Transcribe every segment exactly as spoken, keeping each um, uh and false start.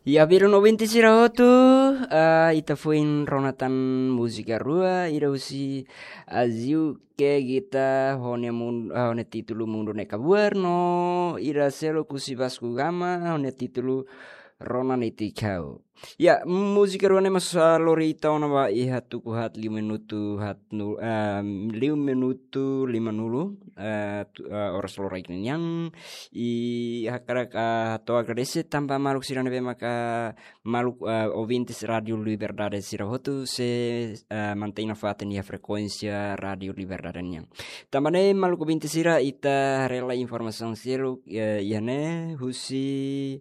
Ya, belun ouvinte sira hotu, ah, ita foin rona tan múzika rua, ida husi Aziu ke gita ho nia mun-, ah, ho nia títulu Mundu Ne'e Kabuar no ida seluk husi Vasco Gama ho nia títulu Rona Netik Ha'u. Ya, múzika rua ne'e mós, ah, lori ita ona ba iha tuku haat liu minutu haat nu-, ah, liu minutu lima nulu, ah, tu-, ah, oras loraik nian. I hakarak, ah, hato'o agradese tanba maluk sira ne'ebé maka maluk, ah, ouvintes Rádio Liberdade sira hotu sei, ah, mantein nafatin iha frekuénsia Rádio Liberdade nian. Tanba ne'e maluk ouvinte sira ita haree lai informasaun seluk, eh, iha ne'e husi,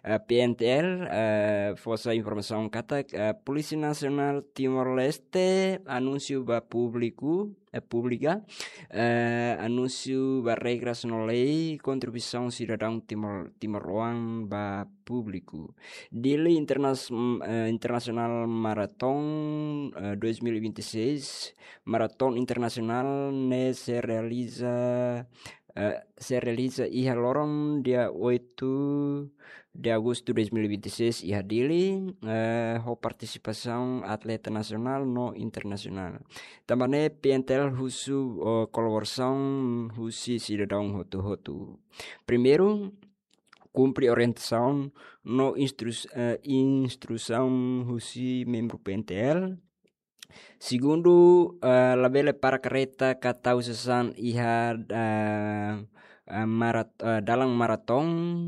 eh, P N T L, eh, fó sai informasaun katak, eh, Polísia Nasionál Timor-Leste anúnsiu ba públiku, eh, públika, eh, anúnsiu ba regras no lei kontribuisaun sidadaun Timor, timoroan ba públiku. Dili Internas-, mm, eh, Internasionál Maraton, eh, dois mil e vinte e seis, Maraton Internasionál ne'e sei realiza, eh, sei realiza iha loron dia oito de agosto dois mil e vinte e seis iha Dili, eh, ho partisipasaun atleta nasionál no internasionál. Tanba ne'e P N T L husu, eh, kolaborasaun husi sidadaun hotu-hotu. Primeiru, kumpre orientasaun no instrus-, eh, instrusaun husi membru P N T L. Segundu, eh, labele para karreta ka tau sasán iha, eh, eh, marat-, eh, dalan maraton.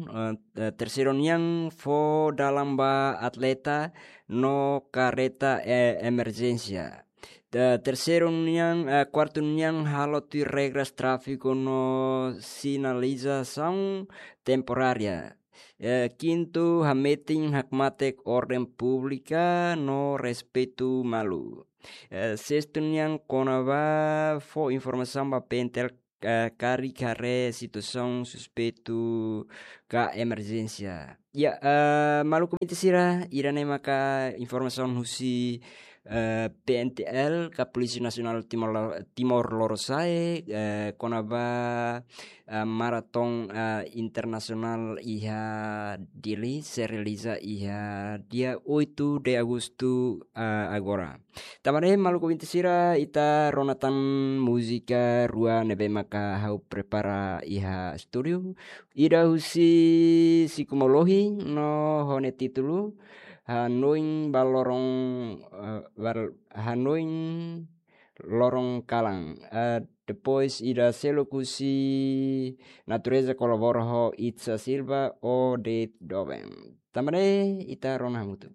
Eh, eh, terseiru nian, fó dalan ba atleta no karreta, eh, emerjénsia. Te-, terseiru nian, eh, kuartu nian, halo tuir regras tráfiku no sinalizasaun temporária. Eh, kintu, hametin hakmatek orden públika no respeitu malu. Eh, sestu nian, kona-ba fó informasaun ba P N T L, eh, karik haree situasaun suspeitu ka emerjénsia. Ya, eh, maluk ouvinte sira, ida-ne'e maka informasaun husi, eh, P N T L ka Polísia Nasionál Timor, Timor Lorosa'e, eh, kona-ba, eh, maraton, eh, internasionál iha Dili, sei realiza iha dia oito de agosto, eh, agora. Tanba ne'e maluk ouvinte sira, ita rona tan múzika rua ne'ebé maka ha'u prepara iha estúdiu. Ida husi Siku Molohi no ho nia títulu Hanoin ba Loron, eh, Bal-, Hanoin Loron Kalan. Eh, depois ida seluk husi Natureza Kolabora ho Itza Silva, O de Doven. Tanba ne'e ita rona hamutuk.